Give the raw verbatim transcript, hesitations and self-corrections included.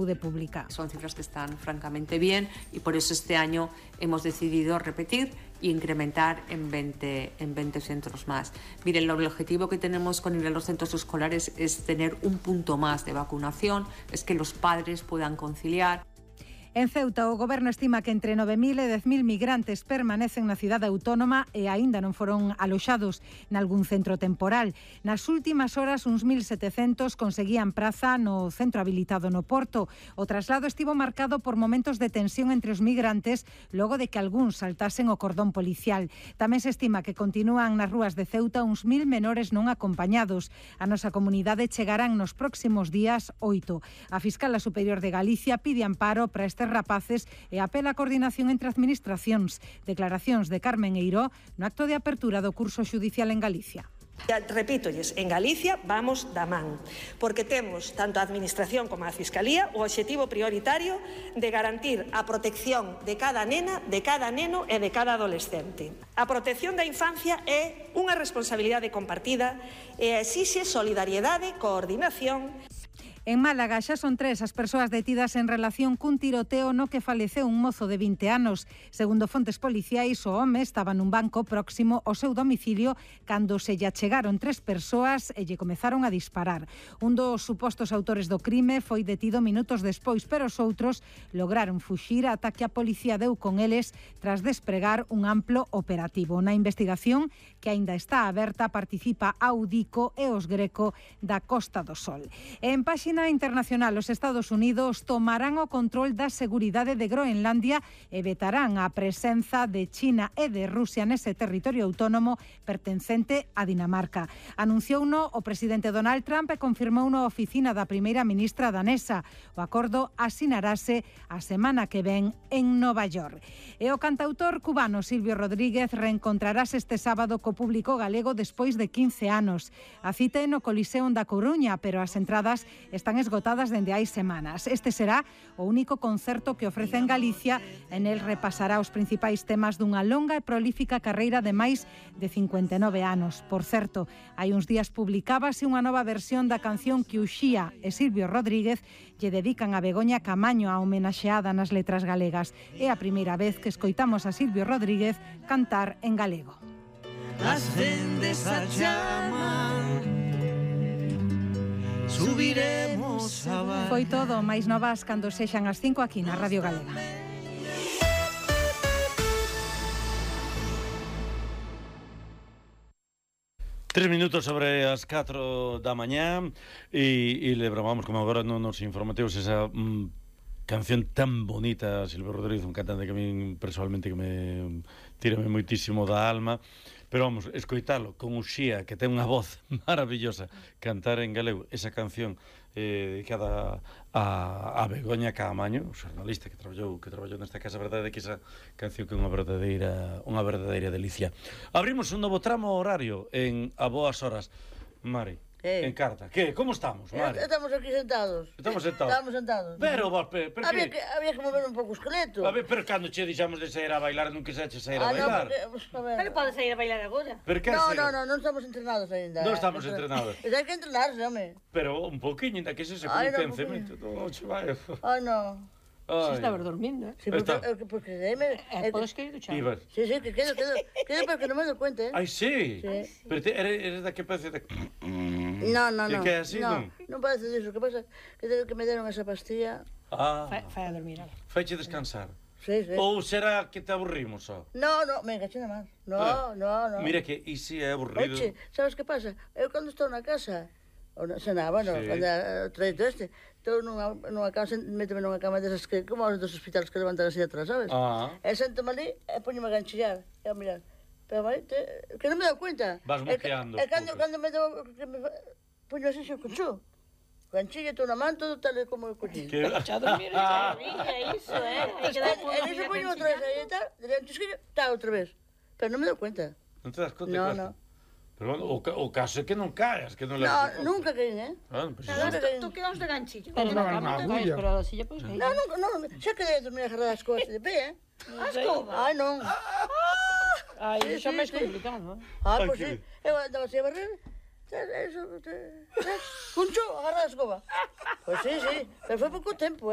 de pública. Son cifras que están francamente bien y por eso este año hemos decidido repetir e incrementar en veinte, en veinte centros más. Miren, el objetivo que tenemos con ir a los centros escolares es tener un punto más de vacunación, es que los padres puedan conciliar. En Ceuta, o Goberno estima que entre nove mil e dez mil migrantes permanecen na cidade autónoma e aínda non foron aloxados nalgún centro temporal. Nas últimas horas, uns mil setecentos conseguían praza no centro habilitado no Porto. O traslado estivo marcado por momentos de tensión entre os migrantes logo de que algúns saltasen o cordón policial. Tamén se estima que continúan nas rúas de Ceuta uns mil menores non acompañados. A nosa comunidade chegarán nos próximos días oito. A Fiscala Superior de Galicia pide amparo para este rapaces e apela a coordinación entre administracións. Declaracións de Carmen Eiró no acto de apertura do curso xudicial en Galicia. Repítolles, en Galicia vamos da man, porque temos tanto a Administración como a Fiscalía o obxectivo prioritario de garantir a protección de cada nena, de cada neno e de cada adolescente. A protección da infancia é unha responsabilidade compartida e exixe solidariedade, coordinación. En Málaga xa son tres as persoas detidas en relación cun tiroteo no que faleceu un mozo de vinte anos. Segundo fontes policiais, o home estaba nun banco próximo ao seu domicilio cando se lle achegaron tres persoas e lle comezaron a disparar. Un dos supostos autores do crime foi detido minutos despois, pero os outros lograron fuxir ata que a policía deu con eles tras despregar un amplo operativo. Na investigación, que aínda está aberta, participa a Audico e os Greco da Costa do Sol. En páxina internacional, os Estados Unidos tomarán o control da seguridade de Groenlandia e vetarán a presenza de China e de Rusia nese territorio autónomo pertencente a Dinamarca. Anunciouno o presidente Donald Trump e confirmou na oficina da primeira ministra danesa. O acordo asinarase a semana que ven en Nova York. E o cantautor cubano Silvio Rodríguez reencontrarase este sábado co público galego despois de quince anos. A cita é no Coliseo da Coruña, pero as entradas están esgotadas dende hai semanas. Este será o único concerto que ofrece en Galicia. En el repasará os principais temas dunha longa e prolífica carreira de máis de cincuenta e nove anos. Por certo, hai uns días publicábase unha nova versión da canción que Uxía e Silvio Rodríguez lle dedican a Begoña Camaño, a homenaxeada nas letras galegas. É a primeira vez que escoitamos a Silvio Rodríguez cantar en galego. Ascendes a chama, subiremos a val. Foi todo, máis novas cando sexan as cinco aquí na Radio Galega. Tres minutos sobre as catro da mañá e, e lembramos como agora non nos informativos esa mm, canción tan bonita, Silvio Rodríguez, un cantante que a mí personalmente que me tírame moitísimo da alma. Pero vamos, escoitalo con Uxía, que ten unha voz maravillosa, cantar en galego esa canción eh, dedicada a, a Begoña Caamaño, xornalista que traballou que traballou nesta casa. A verdade é que esa canción que é unha verdadeira unha verdadeira delicia. Abrimos un novo tramo horario en A Boas Horas. Mari, Eh. en carta. Que? Como estamos, Mari? Estamos aquí sentados. Estamos sentados. Estamos sentados. Pero, vos, pero, pero había que... que había que mover un pouco o esqueleto. A ver, pero cando che dixamos de sair a bailar, non quixeche sair a Ah, no, bailar. porque, pues, a ver. Pero pode sair a bailar agora. Pero que No, hacer? no, no, non estamos entrenados aínda. Non estamos entrenados. Pero hai que entrenarse, home. Pero un pouquiño, ainda que se se Ai, no, con vencemento. Non che vai. Ai, no. Si estabas dormindo, eh? Sí, porque, Está. porque, porque eh, me, Eh, podes que ir duchar. Ibas. Sí, sí, que quedo, quedo, quedo porque non me doy cuenta, eh. Ai, sí. Sí. Pero te, eres, eres da que parece de... No, no, E no. que é así, no, non? non parece diso. Que pasa que, que me deron esa pastilla. Ah, Fai, fai a dormir, ala. faiche descansar. Sí, sí. Ou será que te aburrimos, só? No, no, venga, china máis. No, Ah, no, no. Mira que e si é aburrido. Oche, sabes que pasa? Eu cando estou na casa, ou na cena, bueno, Sí. cando o traito este, estou nunha, nunha cama, méteme nunha cama desas que, como os dos hospitales que levantan así atrás, sabes? Ah. E sento-me ali e poño-me a ganchillar, e a mirar. Pero, vale, te, que non me dou cuenta. Vas E que- moqueando E os cando, poucos. cando me dou, que me poño así xo conchú. Ganchilla, estou na man, todo tal e como eu coñí. Que... Xa dormir, xa dormir, é iso, eh? Hai que dar E niso poño outra vez aí e tal, e antes que tal outra vez. Pero non me dou cuenta. Non te das conta? No, que- no. Pero bueno, o, ca- o caso é que non caes, que non le No, nunca caín, eh? Ah, pues Nunca eso... caín. Tú quedamos de ganchillo. Pero Pero non, na na cama te caes, agulla. pero a silla podes caer. No, nunca, no, xa quedei a dormir agarrada as cosas de pé, eh? A escoba. Ai, non. Ai, Sí, iso é sí, máis sí. complicado, eh? Ah, Ai, pois que sí. Eu andaba así a barrer, Eso, Cuncho, agarra la escoba. Pues sí, sí, pero fue poco tiempo, ¿eh?